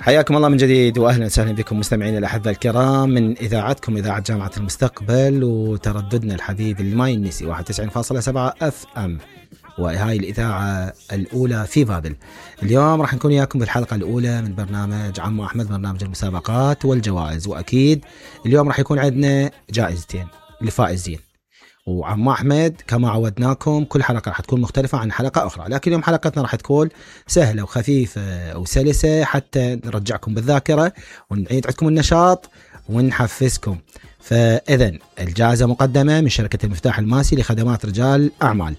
حياكم الله من جديد واهلا وسهلا بكم مستمعينا الاحباء الكرام من اذاعتكم اذاعه جامعه المستقبل وترددنا الحبيب اللي ما ينسي 91.7 اف ام، وهاي الاذاعه الاولى في بابل. اليوم راح نكون وياكم بالحلقه الاولى من برنامج عمو احمد، برنامج المسابقات والجوائز، واكيد اليوم راح يكون عندنا جائزتين للفائزين. وعمو أحمد كما عودناكم كل حلقة راح تكون مختلفة عن حلقة أخرى، لكن اليوم حلقتنا راح تكون سهلة وخفيفة وسلسة حتى نرجعكم بالذاكرة ونعيد عندكم النشاط ونحفزكم. فإذن الجائزة مقدمة من شركة المفتاح الماسي لخدمات رجال أعمال،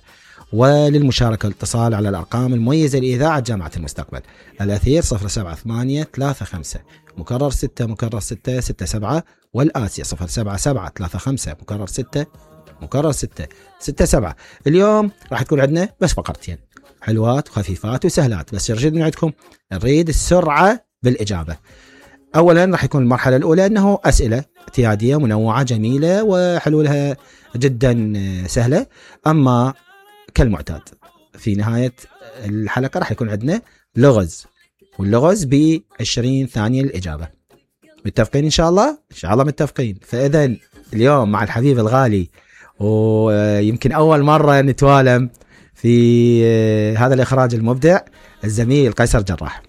وللمشاركة والاتصال على الأرقام المميزة لإذاعة جامعة المستقبل: الأثير 07835 مكرر 6 مكرر 6 67، والآسيا 07735 مكرر 6 مكرر 6 67. اليوم راح تكون عندنا بس فقرتين حلوات وخفيفات وسهلات، بس يرشد من عندكم نريد السرعة بالإجابة. أولا راح يكون المرحلة الأولى أنه أسئلة اعتيادية منوعة جميلة وحلولها جدا سهلة، أما كالمعتاد في نهاية الحلقة راح يكون عندنا لغز، واللغز ب20 ثانية للإجابة. متفقين إن شاء الله؟ إن شاء الله متفقين. فإذن اليوم مع الحبيب الغالي، ويمكن أول مرة نتوالم في هذا الإخراج المبدع، الزميل قيصر جراح.